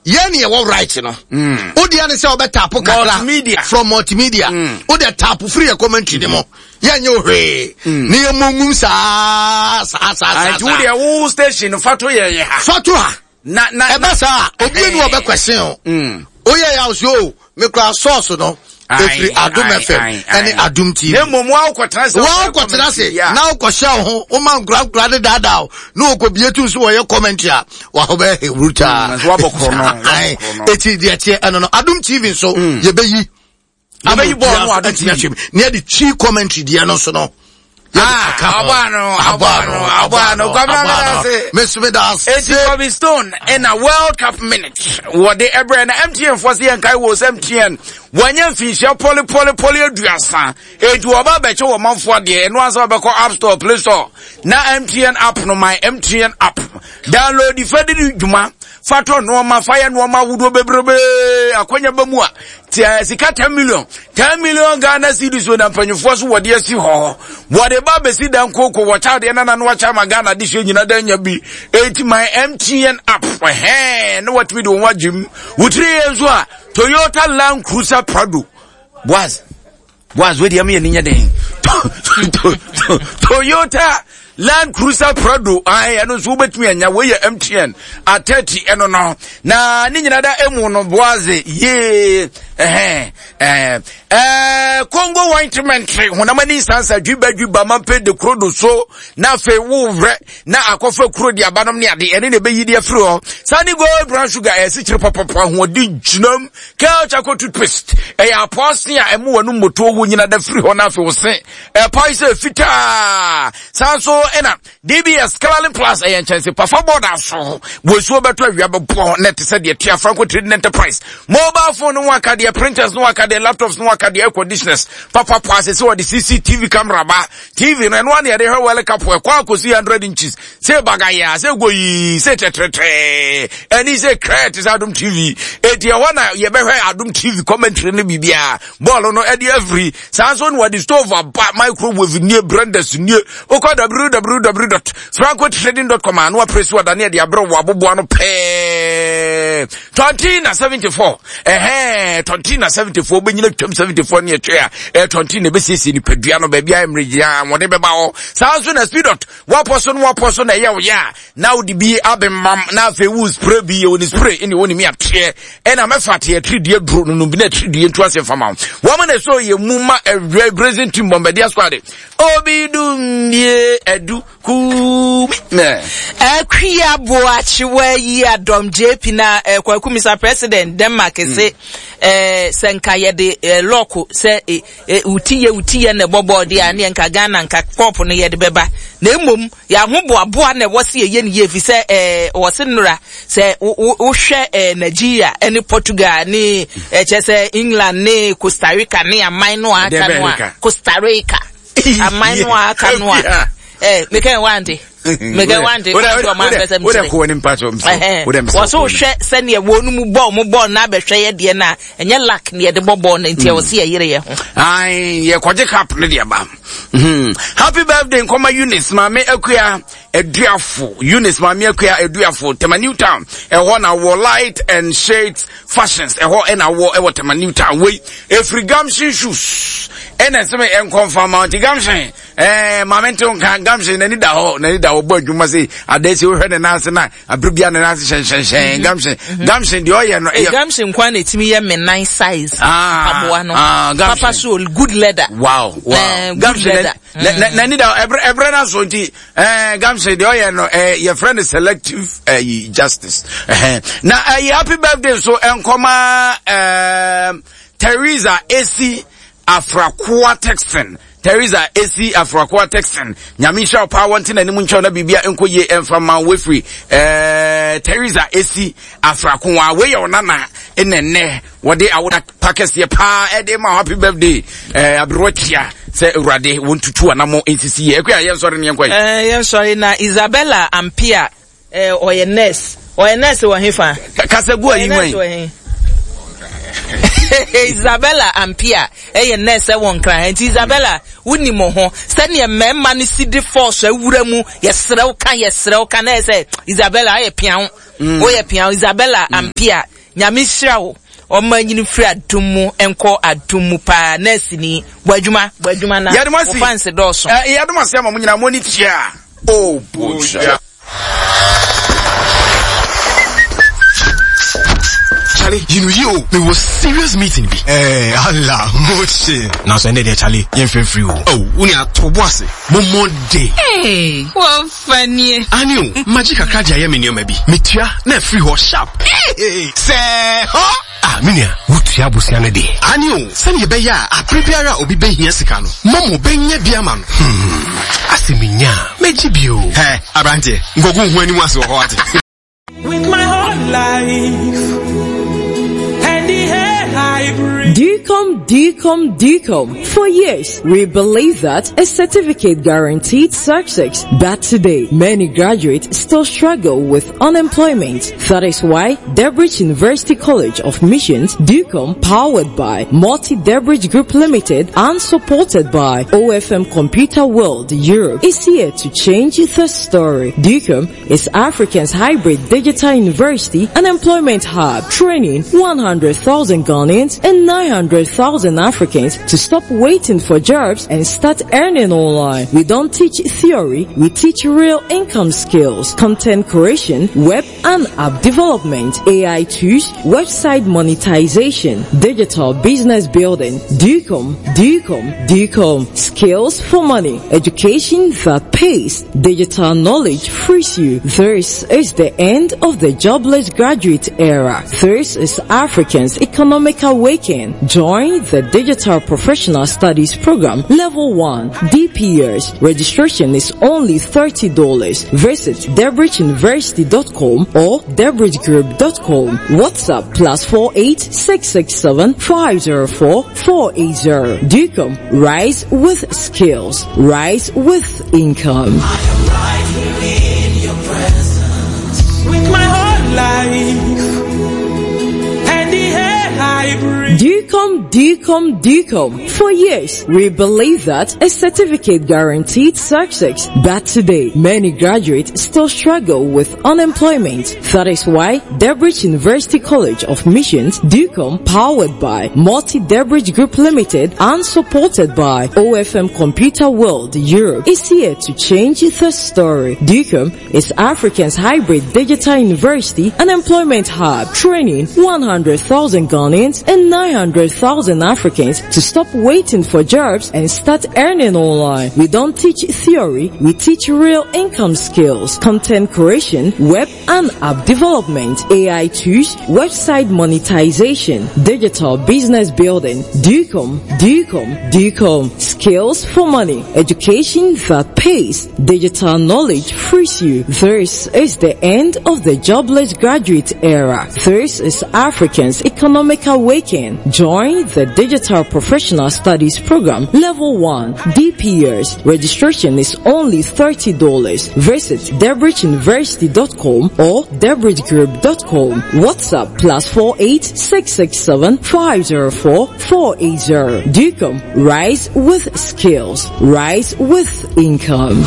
Yɛn ne yɛwɔ right no. Wo deɛ ne sɛ wobɛtapo kakra. Multimedia. From multimedia. Wo deɛ tapo firi yɛ commentary ne mu. Yɛnyɛ wo hwee. Ne yɛ mmɔ saa saa saa saa. Nti wo deɛ wo station fa to yɛn yɛ ha. Fa to ha. Na na ɛba saa obi ni ɔbɛ kwɛsen o. Oyɛ yɛ ahosuo o. Mekura sɔɔso no. Efiri Adum FM ɛne Adum TV. Na mmom wa wokɔtena se. Wa wokɔtena se na wokɔhyɛ wo ho woma nkura nkura de daadaa o na wɔkɔ tu nso wɔyɛ commentary a wahɔ bɛyɛ hewurutaa. Wabɔ korɔ no. Eti deɛ teɛ ɛno no Adum TV nso yɛbɛyi. Yɛbɛyi bɔɔl no Adum TV. Ne yɛde twi commentary deɛ no nso no. Abano, abano, abano, kwabena medase. Mesu medase. Eti Bobby Stone ɛna World Cup minute wɔde ɛbrɛ na MTN fo se yɛn kae wɔ sɛ MTN wɔnyɛ mfinhyia pɔli pɔli pɔli aduasa eti wɔba abɛkyɛ wɔn manfoɔ adeɛ ɛno ansa wɔbɛkɔ App Store Play Store na MTN app no my MTN app download fa di dwuma fa tɔ nneɛma fa yɛ nneɛma ahodoɔ bebrebe akwanya bɛ mu a tia sika 10 million 10 million Ghana cedis na mpanyinfoɔ so wɔde asi hɔ wɔde ba bɛsi dan koko wɔkyɛ adeɛ nana no wakyɛ ama Ghana de hyɛ nyina dan nya bi eti my MTN app ɛhɛn na watumi de wɔn agyem wotiri yɛ nso a Toyota Land Cruiser Prado Boaz Boaz wei deɛ ɛmu yɛ ni nyɛ den Toyota Land Cruiser Prado ayi ɛno nso wobɛtumi anya wei yɛ MTN atɛti ɛno no na ne nyina da emu no Boaz yee ɛhɛn ɛɛ ɛɛ Congo ointment honam ani nsansa dwiba dwiba mampe de kuro do so na afei wo werɛ na akɔfa kuro de abanom ne ade ɛne na ɛbɛyi de afiri hɔ sani gold brown sugar ɛyɛ sikyere pɔpɔpɔ ahoɔden gyinam Kel charcoal toothpaste ɛyɛ apɔɔse a ɛmo w'anum motoɔ wo nyina da firi hɔ na afei wo se ɛpae sɛ fitaa saa nso ɛna DBS Coloring Plus ɛyɛ nkyɛnse pafa bɔɔda so wɔ nsuo bɛtɔ awia bɛbɔ na ɛte sɛ deɛ tua Franco Trading Enterprise mobile phone no ho akadeɛ printers no ho akadeɛ laptops no ho akadeɛ air conditioners papapa ase sɛ wɔde CCTV camera ba TV no ɛno ana yɛde hwɛ World Cup ɛkɔ akɔsi 100 inches sɛ bagaya sɛ goyii sɛ tɛtrɛtrɛ ɛne sɛ krɛ te sɛ adom tv ɛti ɛhɔ na yɛbɛhwɛ adom tv commentary no biribiaa bɔɔlo no ɛde afiri saa nso na wɔde stove aba microwave nie blenders nie wokɔ www francotrading.com a na wapere so ɔdane ɛde aberɛ wɔ aboboa no pɛɛ 20 na 74 ɛhɛn 20 na 74 wobɛnyina twam 74 ne ɛtwe a ɛyɛ 20 na ɛbɛsiesie nipadua no baabi a mmerɛ gyina wɔde bɛba hɔ saa nso na speedot Wapɔ so no wapɔ so na ɛyɛ wo yɛ a na wode bi abemam na afei wo spray bi yɛ wone spray ɛne wone mi ateɛ ɛna mɛfa teɛ tiridie duro no no bi na tiridie nto ase mfama wo wɔn na ɛsɛ yɛ mu ma ɛwɛ brazen team bɔmbɛdeɛ squad obi dum die ɛdu kumi nɛ. Akua Boakyewa yi adɔm JP na eh, Kwaku Mr President Denmark se eh, sɛ nka yɛde eh, lɔko sɛ eh, E, wo ti yɛ wo ti yɛ na ɛbɔ bɔɔl deɛ a ne nka Ghana nka kɔɔpo no yɛde bɛba na mmom yɛahoboaboa na ɛwɔ se yɛyɛ ne yie fi sɛ ɛɛ wɔ se nnora sɛ wohwɛ ɛɛ Nigeria ɛne Portugal ne ɛkyɛ sɛ England ne Costa Rica ne aman no a aka no a Costa Rica aman no a aka no a ɛɛ mekɛn wante mekɛn wante wante ɔman pɛ sɛ mkyerɛ wɔ so wohwɛ sɛdeɛ wɔn mu bɔɔl mo bɔɔl na abɛhwɛ yɛ deɛ no a ɛnyɛ luck na yɛde bɔ bɔɔl no nti ɛwɔ sɛ yɛyere yɛ ho. Ayi yɛkɔgye cup no deɛ ba hmm. happy birthday nkɔma Eunice maame akua aduafo Eunice maame akua aduafo Tema New Town ɛhɔ na wɔ light and shades fashions ɛhɔ ɛna wɔ ɛwɔ Tema New Town wei efiri Gamshin shoes ɛna ɛsɛ mi ɛnkɔnfa ma nti Gamshin ɛɛ maame ntew nka Gamshin n'ani da hɔ n'ani da hɔ bɔ adwuma se adansi wohwɛ ne nan ase na abere bia ne nan ase hyɛnhyɛnhyɛn mhm. gamhyɛn mhm. gamhyɛn deɛ ɔyɛ no ɛyɛ gamhyɛn kwan na etimi yɛ me nan size ah, aboa no ah, papa so good leather wow wow eh, gamhyɛn n'ani da ɛbrɛ ɛbrɛ na so nti ɛɛ gamhyɛn deɛ ɔyɛ no ɛɛ yɛfrɛ no selective ɛyi justice ɛhɛn na ɛyɛ happy birthday so nkɔma ɛɛ Teresa esi afrakoa texan Teresa Esi Afrakoa Texan Nyame nhyira wo paa wɔnte n'anim nkyɛw na biribia nkɔ yie ɛmfa ma wafiri eh, Teresa Esi Afrakoa wei yɛ wo nana ɛnɛ nnɛ wɔde awoda pa kɛseɛ paa ɛde ma happy birthday eh, aberewa tia sɛ awurade wɔntutu anamo nsisi yɛ ɛkɔ a yɛnsɔre ne yɛnkɔ yi eh, yɛnsɔre na Isabella Ampia Eh, ɔyɛ nurse. Ɔyɛ nurse wɔ hefa? Kasa gu ayi wɛn. Isabella Ampia ɛyɛ nurse ɛwɔ Nkran ha nti Isabella woni mo ho sɛdeɛ mmarima no si de force awura mu yɛsrɛ wo ka yɛsrɛ wo ka na ɛsɛ Isabella ayɛ piaw mm. woyɛ piaw Isabella mm. Ampia. Nyame nhyira wo. Ɔma nyini firi adom mu nkɔ adom mu paa. Nurse ni, bɔ adwuma, bɔ adwuma na wo fans dɔɔso. Eh, yɛde mo ase ama mo nyinaa mo ani tua. Oh, bogya. Charlie, you know you, me was serious meeting bi. Eh, Allah, moche. Now so ended there, Charlie, yen free free o. Oh, uni atobo ase. Mo Monday. Hey, what funny. Ani o, magic kakra de ayɛ me nneɛma bi. Metua na afiri hɔ sharp. Hey, sɛ hɔ. Ah, me nua, wotua abosea no deɛ. Ani o, sɛnea ɛbɛyɛ a abere biara a obi bɛhia sika no, Momo bɛnya bi ama no. Hmm, ase menya a, mɛgye bi o. Hɛ, aberanteɛ, nkɔgu ho anim ase wɔ hɔ ate. With my whole life and the air I breathe. DCOM, DCOM, DCOM. For years, we believe that a certificate guaranteed success. But today, many graduates still struggle with unemployment. That is why Debridge University College of Missions, DUCOM, powered by Multi Debridge Group Limited and supported by OFM Computer World Europe, is here to change the story. DUCOM is Africa's hybrid digital university and employment hub, training 100,000 Ghanaians and 900,000 Africans to stop waiting for jobs and start earning online. We don't teach theory, we teach real income skills, content creation, web and app development, AI tools, website monetization, digital business building, DUCOM, DUCOM, DUCOM, skills for money, education that pays, digital knowledge frees you. This is the end of the jobless graduate era. This is Africans' economic awakening. Join the Digital Professional Studies Program Level 1 DPS. Registration is only $30. Visit debridgeuniversity.com or debridgegroup.com. WhatsApp +48 667 504 480. DUCOM, rise with skills, rise with income. I am right here in your presence. With my whole life and the air I breathe. DUCOM, DUCOM, DUCOM. For years, we believe that a certificate guaranteed success. But today, many graduates still struggle with unemployment. That is why Debridge University College of Missions, DUCOM, powered by Multi Debridge Group Limited and supported by OFM Computer World Europe, is here to change the story. DUCOM is Africa's hybrid digital university and employment hub, training 100,000 Ghanaians and 900,000 Africans to stop waiting for jobs and start earning online. We don't teach theory, we teach real income skills, content creation, web and app development, AI tools, website monetization, digital business building, DUCOM, DUCOM, DUCOM, skills for money, education that pays, digital knowledge frees you. This is the end of the jobless graduate era. This is Africans' economic awakening. Join the Digital Professional Studies Program Level 1 DPS. Registration is only $30. Visit debridgeuniversity.com or debridgegroup.com. WhatsApp +48 667 504 480. DUCOM, rise with skills, rise with income.